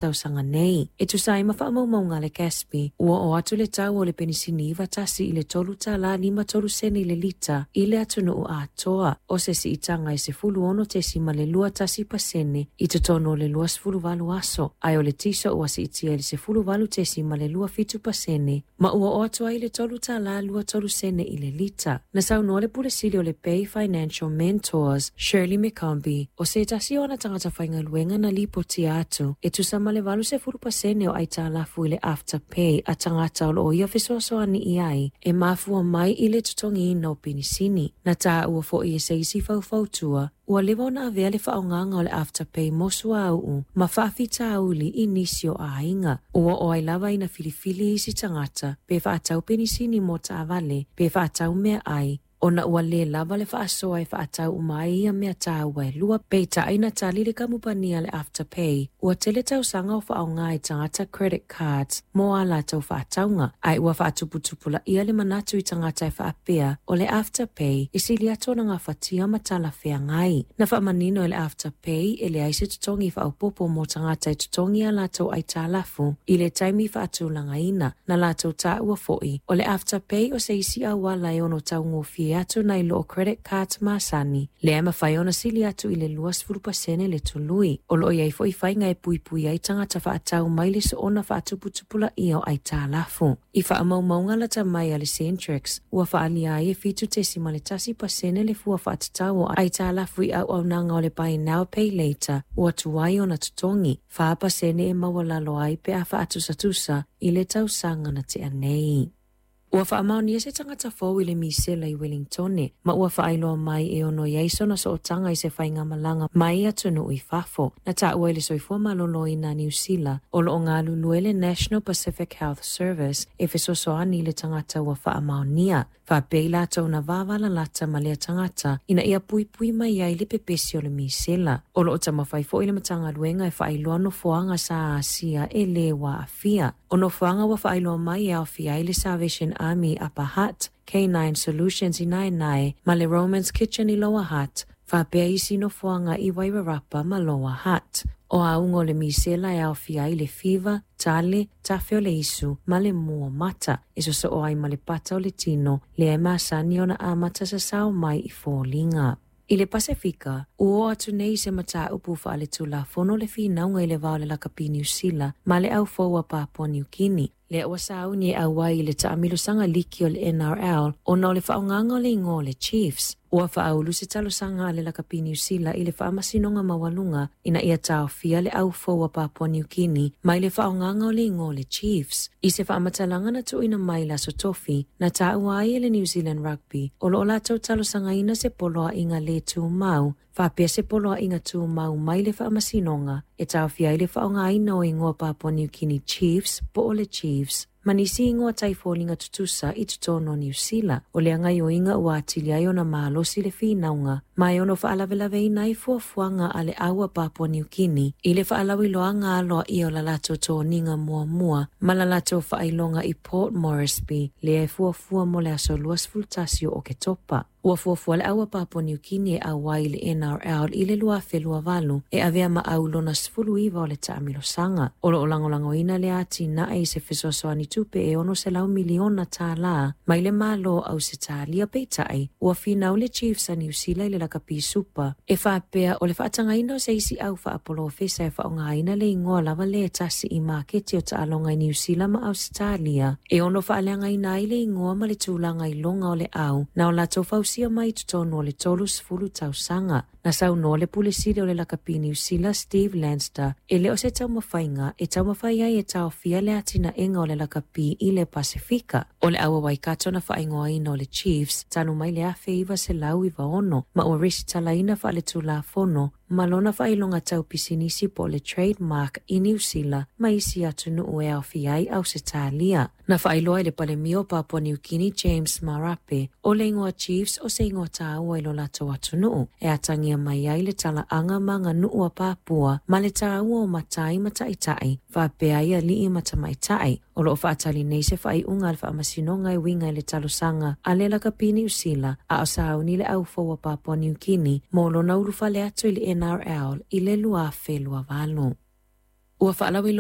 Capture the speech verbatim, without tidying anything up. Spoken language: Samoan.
Tausaga nei. E tusa ai ma faamaumauga a le G A S B, ua oo atu le tau o le penisini iva tasi i le tolu tala lima tolu sene i le lita i le atunuu atoa, o se siitaga e sefulu ono tesima le lua tasi pasene i totonu o le lua sefulu valu aso, ae o le tiso ua siitia i le sefulu valu tesima le lua fitu pasene, ma ua oo atu ai le tolu tala lua tolu sene i le lita. Na saunoa le Pule Sili o le Bay Financial Mentors, Shirley McCombie, o se tasi o ana tagata faigaluega na lipotia atu e tusa ma le valu sefulu pasene o aitalafu i le Afterpay a tagata o loo ia fesoasoani i ai e mafua mai i le totogiina o penisini. Na taua foi e se isi faufautua ua leva ona avea le faaaogaga o le Afterpay mo suauu ma faafitauli i nisi o aiga. Ua oo ai lava ina filifili isi tagata pe faatau penisini mo taavale pe faatau meaai, ona ua lē lava le faasoa e faatau uma ai ia mea taua e lua. Peitai na tali le kamupani a le Afterpay ua tele tausaga o faaaoga e tagata credit cards mo a latou faatauga, ae ua faatuputupulaia le manatu i tagata e faapea o le Afterpay e sili atu ona gafatia ma talafeagai. Na faamanino e le Afterpay e leai se totogi faaopoopo mo tagata e totogi a latou aitalafu i le taimi faatulagaina. Na latou taua foi o le Afterpay o se isi auala e ono taugofie atu nai lo credit cards masani, lea e mafai ona sili atu i le luasefulu pasene le tului. O loo iai foi faiga e puipui ai tagata faatau mai le soona faatuputupulaia o aitalafu. I faamaumauga lata mai a le Centrix, ua faalia ai e fitu tesima le tasi pasene le fua faatatau o aitalafu i auaunaga o le Buy Now Pay Later ua tuai ona totogi, fa pasene e maualalo ai pe a faatusatusa i le tausaga na tea nei. Ua faamaonia se tagata fou i le misela i Wellingtone, ma ua faailoa mai e ono i ai sona sootaga i se faigamalaga mai atunuu i fafo. Na taua i le Soifua Maloloina Niu Sila o loo galulue le National Pacific Health Service e fesoasoani i le tagata ua faamaonia, faapea i latou na vavalalata ma lea tagata ina ia puipui mai ai le pepesi o le misela. O loo taumafai foi le Matagaluega e faailoa nofoaga sa asia e lē ua aafia. O nofoaga ua faailoa mai e aofia ai le Salvation Army Upper Hutt, K nine Solutions i Naenae ma le Romans Kitchen i Lower Hutt, faapea isi nofoaga i Wairarapa ma Lower Hutt. O auga o le misela e aofia ai le fiva, tale, tafe o le isu ma le mua mata e sosoo ai ma le pata o le tino, lea e masani ona amata sasao mai i foliga. I le Pasefika, ua oo atu nei se mataupu faaletulafono le finauga i le va o le lakapi Niu Sila ma le aufou a Papua Niu Kini, lea ua sauni e auai i le taamilosaga liki o le N R L, ona o le faaaogaga o le igoa o le Chiefs. Ua faaulu se talosaga a le lakapi Niu Sila i le Faamasinoga Maualuga ina ia taofia le aufou a Papua Niu Kini mai le faaaogaga o le igoa o le Chiefs. I se faamatalaga na tuuina mai le aso Tofi, na taua ai e le New Zealand Rugby o loo latou talosagaina se poloaiga lē tumau faapea se poloaiga tumau mai le Faamasinoga e taofia ai le faaaogaina o igoa Papua Niu Kini Chiefs po o le Chiefs ma nisi igoa taifoliga tutusa i totonu o Niu Sila. O le gaoioiga ua atili ai ona malosi le finauga ma e ono faalavelaveina ai fuafuaga a le au a Papua Niu Kini i le faalauiloaga aloaia o la latou toniga muamua ma la latou faailoga i Port Moresby, lea e fuafua mo le aso luasefulu tasi o Oketopa. Ua fuafua le au a Papua Niu Kini e auai i le N R L i le lua afe lua valu e avea ma au lona sefulu iva o le taamilosaga. O loo lagolagoina le atinae i se fesoasoani tupe e ono selau miliona tālā mai le Malo Ausetalia. Peitai, ua finau le Chiefs a Niu Sila i le lakapi Supa e faapea o le faatagaina o se isi au faapolofesa e faaaogaina le igoa lava le tasi i maketi o taaloga i Niu Sila ma Ausetalia e ono faaleagaina ai le igoa ma le tulaga iloga o le au na o latou fausia mai totonu o le tolu sefulu tausaga. Na saunoa le Pule Sili o le lakapi Niu Sila Steve Lanster e le o se taumafaiga e taumafai ai e taofia le atinaega o le lakapi i le Pasefika. O le au a Waikato na faaigoaina o le Chiefs talu mai le afe iva selau iva ono ma ua resitalaina faaletulafono ma lona faailoga tau pisinisi po o le trademark i Niu Sila ma isi atunuu e aofia ai Ausetalia. Na faailoa i le Palemia o Papua Niu Kini James Marape o le igoa Chiefs o se igoa taua i lo latou atunuu e atagia mai ai le talaaga ma aganuu a Papua ma le taua o matai ma taitai faapea ai alii ma tamaitai. O loo faatali nei se faaiuga a le Faamasinoga e uiga i le talosaga a le lakapi Niu Sila a o sauni le aufou a Papua Niu Kini mo lona ulufale atu i le N R L i le lua afe lua valu. Ua faalauiloa